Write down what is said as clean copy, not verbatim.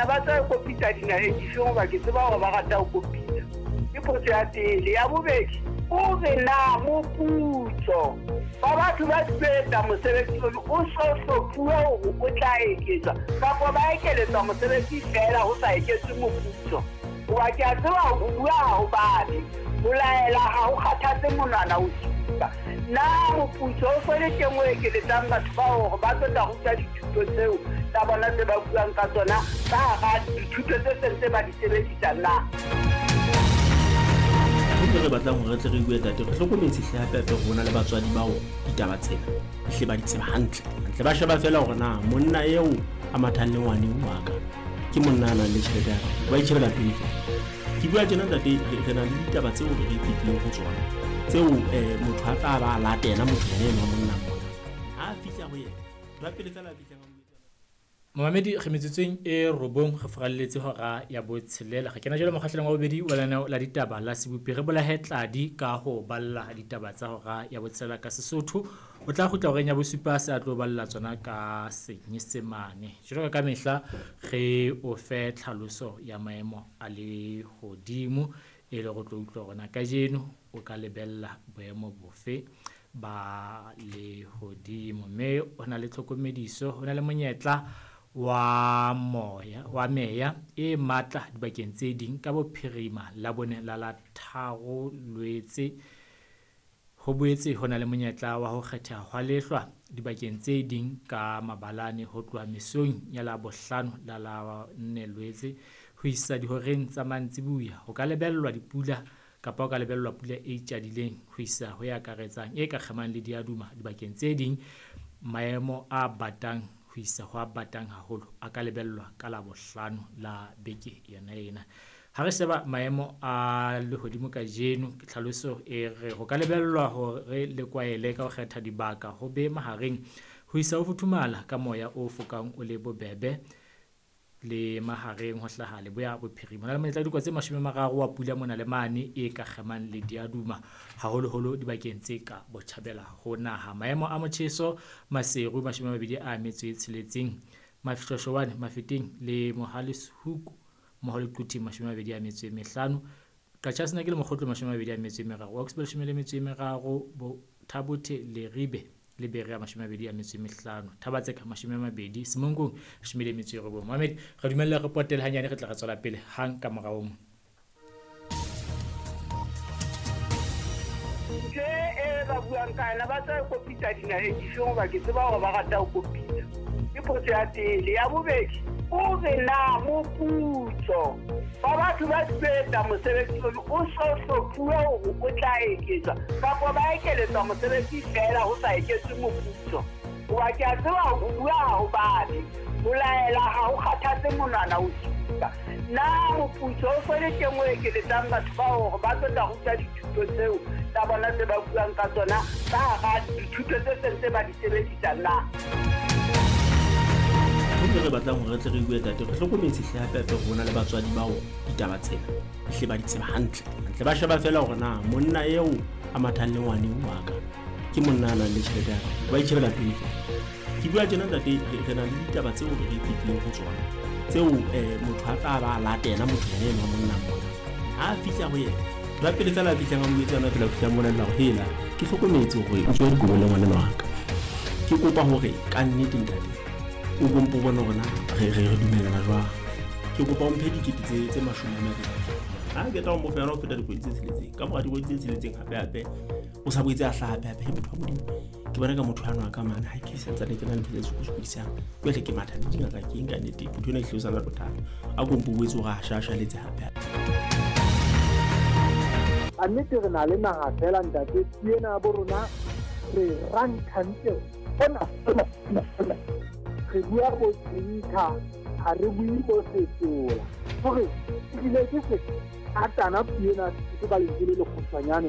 yona, ba tla e kopitsa dinaheng difeng hoba ke tseba hore ba rata ho kopitsa? Ke potso ya pele. Ya bobedi, o re na moputso wa batho ba etsa mosebetsi ono o so hlophuwe hore o tla eketswa kapa ba ekeletswa mosebetsi feela ho sa eketswe moputso? Hoba ke a tseba ho bua ha ho babe, ho laela ha ho kgathatse monwana o supa. Na moputso o so le teng o ekeletsang batho bao hore ba tlo tla ruta dithuto tseo tsa bona tse ba buang ka tsona ka hara dithuto tse seng tse ba di sebedisa na? Ntho e re batlang hore re tle re bue, tate, re hlokometse hle hape hape hore ho na le batswadi bao ditaba tsena ehle ba di tseba hantle hantle. Ba sheba feela hore na monna eo a mathang le ngwaneng wa ka ke monna a nang le tjhelete ya kae, ba itjhebela pele feela. Ke bua tjena, ntate, re na le ditaba tseo re fetileng ho tsona tseo motho a tla ba a latela motho yena enwa monna mona ha a fihla ho yena, ntho ya pele feela a fihlang a mo etsa. Momamedi, re metsotsong e robong re furalletse hora ya botshelela. Re kena jwale mokgahlelong wa bobedi wa lenaneo la ditaba la Sebopi. Re bolahe tladi ka ho balla ditaba tsa hora ya botshelela ka Sesotho. O tla kgutla horeng ya bosupa se a tlo balla tsona ka Senyesemane. Jwalo ka mehla re o fe tlhaloso ya maemo a lehodimo e le go tlo utlwa hore na kajeno o ka lebella boemo bofe ba lehodimo. Mme ho na le tlhokomediso, ho na le monyetla wa moya wa meya e matla dibakeng tse ding ka bophirima Labone la la 3 Loetse. Ho boetse ho na le monyetla wa ho kgetheha hwa lehlwa dibakeng tse ding ka mabalane ho tloha mesong ya Labohlano la la 4 Loetse ho isa dihoreng tsa mantsiboya. Ho ka lebellwa dipula kapa ho ka lebellwa pula e itjadileng ho isa ho e akaretsang e ka kgemang le diaduma dibakeng tse ding. Maemo a batang ho isa ho a batang haholo a ka lebellwa ka Labohlano la beke yona ena. Ha re sheba maemo a lehodimo kajeno, ke tlhaloso e re ho ka lebellwa hore le kwaele ka ho kgetha dibaka ho be mahareng ho isa ho futhumala ka moya o fokang o le bobebe le mahareng ho hlaha leboya bophirima. Ho na le monyetla wa dikotsi tse 30 wa pula mona le mane e ka kgemang le diaduma haholoholo dibakeng tse ka botjhabela ho naha. Maemo a motjheso Maseru 26, Mafshoshoane, Mafeteng le Mohale's Hoek mmoho le Quthing 25, Qacha's Nek le Mokgotlo 23, Augsburg 13, Thabothe Leribe le Berea 25, Thabatseka 20, Semonkong 19. Mohamed, re dumelle re potele hanyane, re tla re tswela pele hang ka morao mo. Ntho e ba buang ka yona, ba tla e kopitsa dinaheng difeng hoba ke tseba hore ba rata ho kopitsa? Ke potso ya pele. Ya bobedi, o re na moputso wa batho ba etsa mosebetsi ono o so hlophuwe hore o tla eketswa kapa ba ekeletswa mosebetsi feela ho sa eketswe moputso? Hoba ke a tseba ho bua ha ho babe, ho laela ha ho kgathatse monwana o supa. Na moputso o so le teng o ekeletsang batho bao hore ba tlo tla ruta dithuto tseo tsa bona tse ba buang ka tsona ka hara dithuto tse seng tse ba di sebedisa na? Ntho e re batlang hore re tle re bue, tate, re hlokometse hle hape hape hore ho na le batswadi bao ditaba tsena ehle ba di tseba hantle hantle. Ba sheba feela hore na monna eo a mathang le ngwaneng wa ka ke monna a nang le tjhelete ya kae, ba itjhebela pele feela. Ke bua tjena, ntate, re na le ditaba tseo re fetileng ho tsona tseo motho a tla ba a latela motho yena enwa monna mona ha a fihla ho yena, ntho ya pele feela a fihlang a mo jwetsa yona feela, o fihla a mmolella hore hela, ke hlokometse hore o tswa dikobo le ngwanenwa wa ka, ke kopa hore ka nnete, ntate, o kompo bone hore na re dumellana jwang, ke kopa o mphe dikete tse 20. Ha ke tla o mo fa yona ho feta dikgwedi tse 6, ka mora dikgwedi tse 6 hape hape o sa boetse a hlaha hape hape. Motho wa Modimo, ke bona ka motho ano a ka mane ha ke santsane ke na le ntho tse sokodisang, jwale ke matha le dingaka ke eng ka nnete, motho ena ehlile o sa na le bothata, a kompo boetse hore a shashaletse hape hape. A nnete re na le naha fela, ntate, ena bo rona re ranthantle ona ona, re bua bo tsinka, ha re bue bo Setsola, hore ehlile ke se atana puo ena se ka lentswe le lekgutshwanyane.